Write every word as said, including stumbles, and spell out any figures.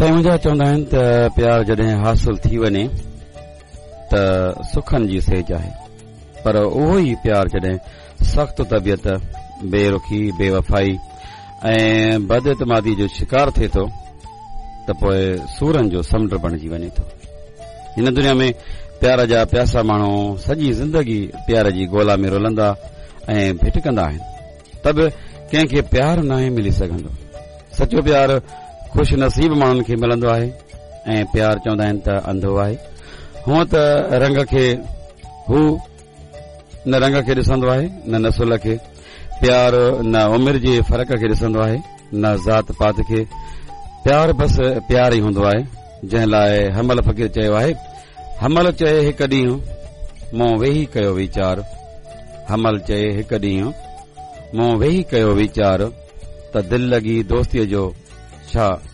سائين منهنجا، چوندا آهن ته پيار جڏهن حاصل ٿي وڃي ته سکن جي سيج آهي، پر اهو ئي پيار جڏهن سخت طبيعت، بي رخي، بي وفائي ۽ بد اعتمادي جو شڪار ٿئي ٿو ته پوء سورن جو سمنڊ بڻجي وڃي ٿو. هن دنيا ۾ پيار جا پياسا ماڻهو سڄي زندگي پيار جي ڳولا ۾ رلندا ۽ ڀٽڪندا آهن، ته به ڪنهن کي پيار ناهي ملي سگهندو. سچو پيار خوش نصيب ماڻهن کي ملندو آهي ۽ پيار چوندا آهن ته انڌو آهي. هونء ته رنگ کي هو نه رنگ کي ڏسندو آهي نه نسل کي. پيار نه عمر جي فرق کي ڏسندو آهي نه ذات پات کي. پيار بس پيار ئي هوندو آهي، جنهن لاء حمل فقير چيو آهي: حمل چئي هڪ ڏينهن مون ويهي ڪيو ويچار، حمل چئي هڪ ڏينهن مون ويهي ڪيو ويچار، ته دل لڳي دوستيء جو ڇا